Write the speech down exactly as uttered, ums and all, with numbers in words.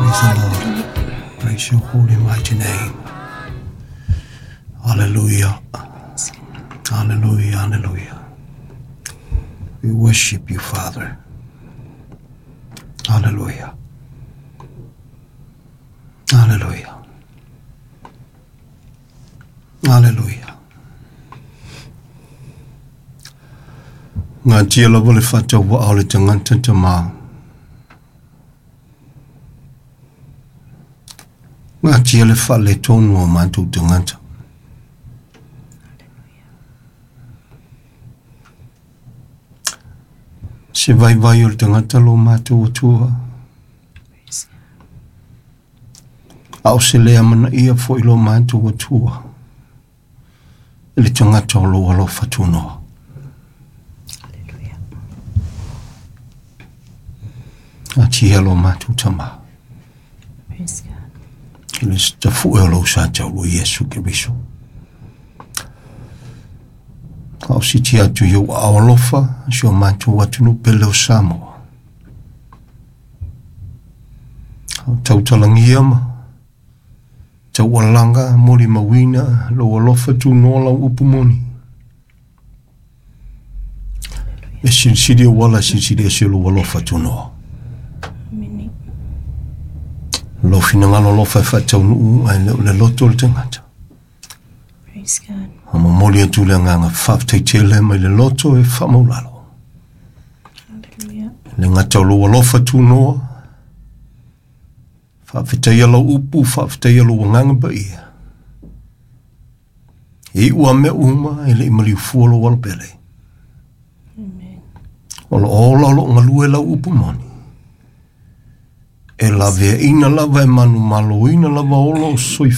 Praise the Lord. Praise your holy mighty name. Hallelujah. Hallelujah. Hallelujah. We worship you, Father. Hallelujah. Hallelujah. Hallelujah. Ngā tia lava le whata wa au le tangata tamā. Ngā tia le whale tonu o mātou tangata. Se vai vai o le tangata lo mātou atua. Au se lea mana ia fo i lo mātou atua. E le tangata o lo alofa tunoa. A tia lo mātou tama. Praise God. Le tafu e lo sa tau lo Yesu Keriso. Au si tia tu iau au alofa, si o mātou atunu pele o Samoa. Au tautalangia ma, tau alanga, moli mawina, lo alofa tu noa lau upu moni. E silisili o wala silisili e si lo alofa tu noa. Lo finangalo lo fa fa tau nuu ai le le loto le tangata. Praise God. A momoli atu le nganga fa te tele mai le loto e fa maulalo. Hallelujah. Le ngata lo alofa tu noa. Fa fitaia lo upu, fa fitaia lo nganga pa ia. E ua me uma e le imali fua lo walpele. Amen. O lo ola lo ngalue lau upu moni. E la vea ina lava e manu malo ina lava olo soi